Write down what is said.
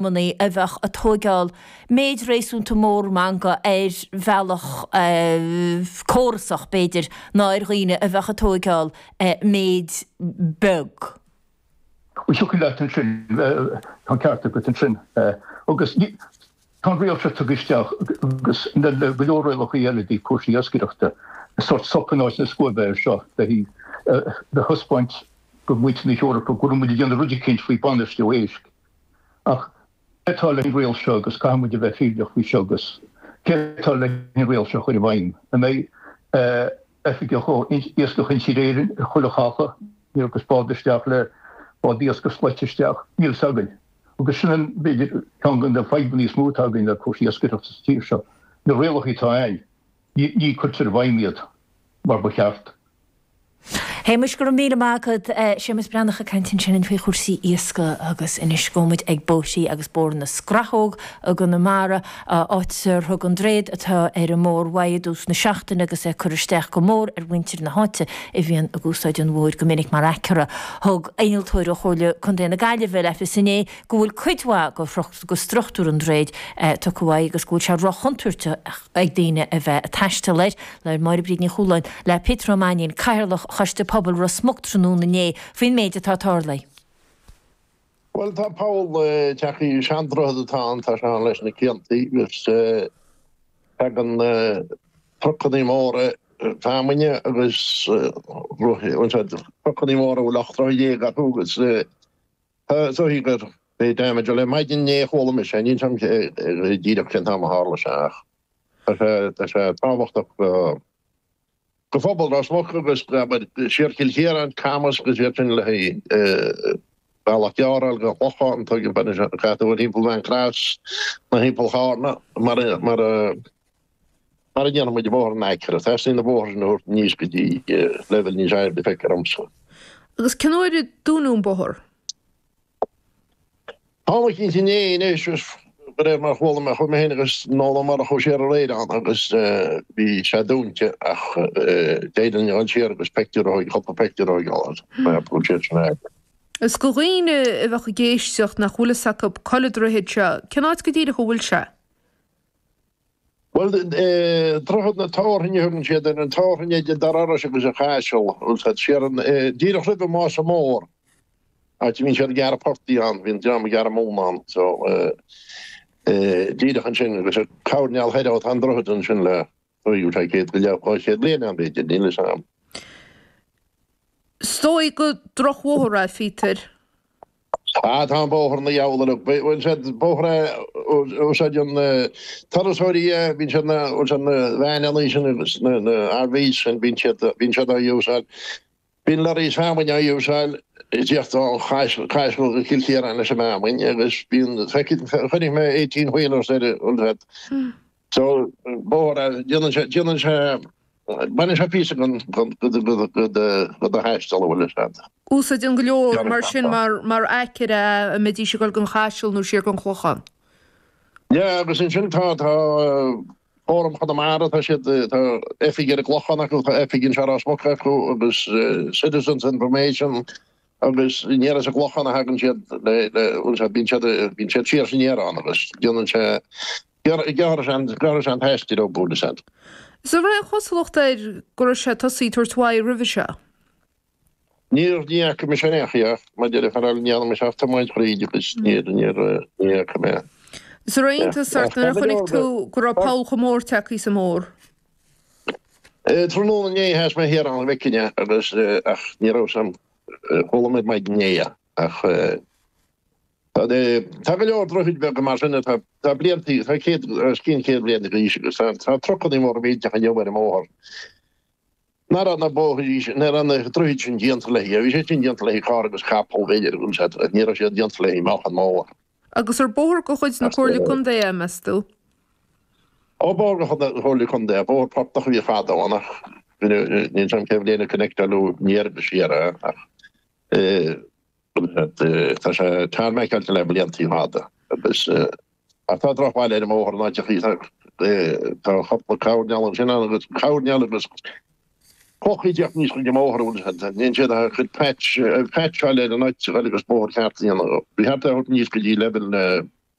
Manaí a bheadh ag tóigeáil méid réasúnta mór meangadh ar bhealach córasach, b'fhéidir, ná ar dhaoine a bheadh ag tóigeáil méid beag. Bhuel, thiocfadh leat ansin, tá an ceart agat ansin. Agus tá an riail seo tugtha isteach agus le go leor rialacha eile i dtaobh cúrsaí iascaireachta, sórt sop in áit na scuaibe air seo le thaispeáint do mhuintir na hEorpa go bhfuil muid ag déanamh rud eicínt faoi bainistiú éisc. Ach cé atá leis an riail seo agus caithfidh muid a bheith fírinneach faoi seo agus cé atá leis an riail seo a chur i bhfeidhm? An mbeidh oifigeach ó Iascach Intíre Éireann ar chuile chacha agus bád isteach le bád iascaigh slaite isteach? Níl fhios againn. Agus sin an, b'fhéidir, ceann de na fadhbanna is mó atá againn le cúrsaí iascaireachta sa tír seo. Na rialacha atá ann, ní cuirtear i bhfeidhm iad mar ba cheart. Shéamais, go raibh míle maith agat. Séamus Breathnach ag caint ansin faoi chúrsaí iascaigh agus anois gabhfaidh muid ag bóithrí agus Bóthar na Scrathóg i gConamara, áit ar thug an droichead atá ar an mbóthar uaidh i dtús na seachtaine agus é ag cur isteach go mór ar mhuintir na háite a bhíonn ag úsáid an bhóthair go minic mar aicearra. Thug innealtóir ó Chomhairle Contae na Gaillimhe le fios inné go bhfuil cuid mhaith de struchtúr an droichid tugtha uaidh agus go bhfuil sé róchontúirteach ag daoine a bheith ag taisteal air. Labhair Máire Bríd Ní Chualáin le Peter Ó Mainnín, Cathaoirleach Choiste Pobail Ros Muc tráthnóna inné faoin méid atá tarlaithe. Bhuel, tá poll tagtha, seandroichead atá ann, tá sé ann leis na ciantaí agus tagann trucannaí móra feamainne agus trucannaí móra a bhfuil 18 troigh orthu agus tá is dóigh gur é damage, bhuel ar maidin inné a chuala mise é, níl 'fhios a'm díreach cén t-am a tharla sé ach. Tá sé tábhachtach do phobal Ros Muc agus siar Cill Chiaráin, Camas agus iad sin le haghaidh bealach gearr a fháil go Clochán, tuigim caithfidh tú dul thimpeall Mhaigh Cross nó thimpeall Chárna mar mar mar a ndéanann muid i bóthar an aicearra. Teastaíonn na bóithre sin a thabhairt aníos go dtí leibhéal níos airde feictear domsa. Agus cén uair a dúnadh an bóthar? Tá mé cinnte inné anois, de réir mar a chuala mé, chuaigh mé féin agus Noel Ó Murchú siar aréir ann agus bhí sé dúnta ach d'éirigh linn a dhul siar agus peictiúr a thógáil, cúpla peictiúr a thógáil as mar go bhfuil siad sin agat. Is do dhaoine a bheadh ag éisteacht nach bhfuil fhios acu cá bhfuil an droichead seo, cén áit go díreach a bhfuil sé? Bhuel, Droichead na Tabharthainne a thugann siad air, an Tabharthainn idir Dún Iorrais agus an Chaiseal, bhfuil 's agat, siar an, díreach roimh an Mása Mór, áit a mbíonn siad ag gearradh portaigh ann, bhíonn dream ag gearradh móna ann, so, díreach ansin agus ar choirnéal thoir ó tá an droichead ansin le, bhfuil sé 100 go leith, 200 bliain ann b'fhéidir, níl 'fhios a'm. Is dóigh gur drochbhóthar é, a Phíotair. Ah, tá an bóthar ina dheabhal uilig. Bhuel, sé bóthar é a úsáideann turasóirí é, bíonn siad na, bhfuil siad na veaineanna sin agus na, na RVs sin, bíonn siad, bíonn siad á úsáid. Bíonn lorries feamainne á úsáid ag tíocht ó Chaiseal go Cill Chiaráin leis an bhfeamainn agus bíonn, feicfidh, chonaic mé 18 wheelers ar, bhfuil siad. So, bóthar é, déanann sé, déanann sé, baineann sé píosa den, den, den, den, den do thaisteal, an bhfuil fhios agat. Úsáideann go leor mar sin mar, mar aicearra a mbeidís ag dul don Chaiseal nó siar don Chlochán. Yeah, agus ansin tá, tá Fóram Chonamara, tá siad, tá oifig ar an gClochán acu, tá oifig anseo i Ros Muc acu agus Citizens Information agus aniar as an gClochán a thagann siad le, le, bhfuil fhios agat, bíonn siad, bíonn siad siar is aniar ann agus déanann sé, Gearrfaidh sé an t-aistear ó bhfuil fhios agat. Is an raibh aon chosúlacht air go raibh sé tosaithe ag tabhairt uaidh roimhe seo? Níor, ní fhaca mise in aon chaoi ach mar deir an fear eile ní dhearna mise ach tiomáint thríd agus níor, níor, ní fhaca mé. Is an raibh iontas ort nuair a chonaic tú go raibh poll chomh mór tagtha sa mbóthar? Tráthnóna inné sheas mé thiar ann go bhfeicfinn é agus ach ní raibh 'fhios a'm, chuala mé maidin inné é ach Tá go leor droichid beaga mar sin atá tá blianta, tá céad, os cionn 100 bliain d'aois agus tá tá trucannaí móra millteacha inniu ar an mbóthar. Nach raibh na bóithrí sin, nach raibh na droichid sin déanta le haghaidh, bhí siad sin déanta le haghaidh carr agus capall b'fhéidir agus ní raibh siad déanta le haghaidh meáchan mór. Agus ar bóthar de chuid na Comhairle Contae é, meas tú? Ó bóthar de chuid na Comhairle Contae, bóthar portach a bhí fadó ann ach níl 'fhios a'm cén bhliain a connectáladh aniar agus siar é ach Tá sé tarmaiceáilte le blianta fada agus ach tá drochbhail ar an mbóthar in áiteachaí. Tá cúpla coirnéal ansin ann agus coirnéal agus clocha ag teacht aníos chuig an mbóthar a bhfuil siad. Níl siad ach ag patch patcháil ar an áit agus bóthar ceart a dhéanamh. Ba cheart é a thabhairt aníos go dtí leibhéal na.